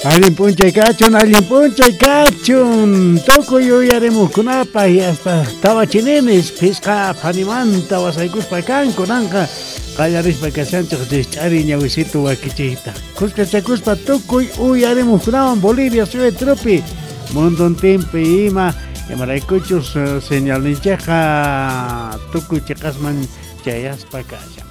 Allin p'unchay kachun, allin p'unchay kachun. Tukuy uyarimuqkunapaq y hasta tawachininis phisqa phanimanta wasaykuspa kan kunanqa qallarispa kashanchik rikch'ari ñawisitu wakichiyta. Kuskachakuspa tukuy uyarimuqkunawan Bolivia suyupi munduntinpi ima imaraykuchus señalninchikqa tukuy chiqasman chayaspa kashan.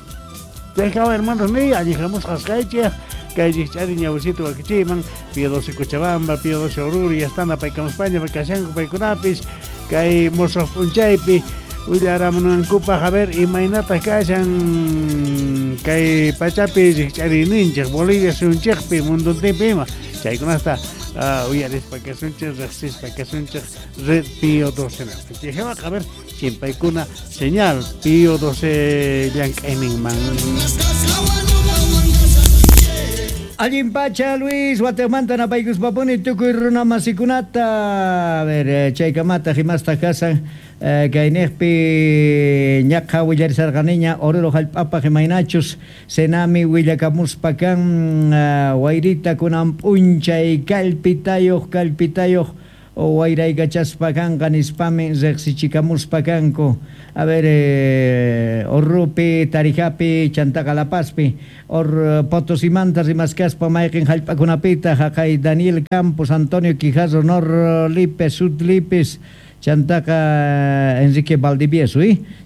Chaykawa hermanos niy allin hamusqas kaychik kay rikch'ari ñawisitu wakichiyman Pío 12 Cochabamba, Pío 12 Oruro y hasta paykamuspaña kashanku paykunapis kay musuq p'unchaypi willaramunankupaq a ver imaynataq kashan kay pachapi rikch'ariyninchik Bolivia suyunchikpi munduntinpi ima chaykunasta uyarispa kasunchik riqsispa kasunchik red Pío 12 Chayqa a ver chimpaykuna señal Pío 12 llank'ayninman. Allin pacha Luis, Guatemala napaykuspapuni tukuy runa masikunata. A ver, chaykamata himasta kasan kayniqpi ñaqha willarisarqaniña Oruro hallp'apaq imaynachus Senami willakamuspa kan wayrita kunan p'unchay kallpitayuq kallpitayuq wayraykachaspa kanqa nispami riqsichikamuspa kanku. A ver, Orrupi, Tarijapi, chantaqa La Pazpi, or Potosimanta rimaskaspa mayqin hallp'akunapita haqay Daniel Campos, Antonio Quijarro, Nor Lipes, Sud Lipes, chantaqa Enrique Valdivieso,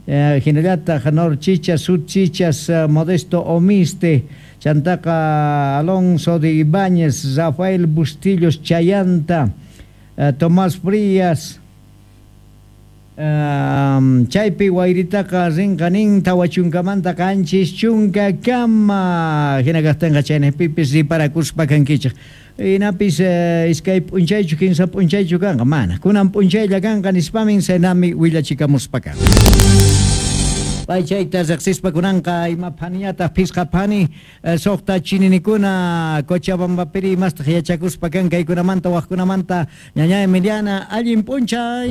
hinallataq Nor Chichas, Sud Chichas, Modesto Omiste, chantaqa Alonso de Ibáñez, Rafael Bustillos Chayanta, Tomás Frías, chaypi wayritaqa rinqa nin tawachunkamanta qanchis chunka kama hina kaqtinqa chaynaqpipis riparakuspa kankichik hinapis iskay p'unchaychu kinsa p'unchaychu kanqa mana kunan p'unchaylla kanqa nispamin Senami willachikamuspa kan. Pay chayta riqsispa kunanqa ima phaniñataq phisqa phani suqta chininikuna Cochabambapiri imastaq yachakuspa kan kaykunamanta waqkunamanta ñaña Emiliana allin p'unchay.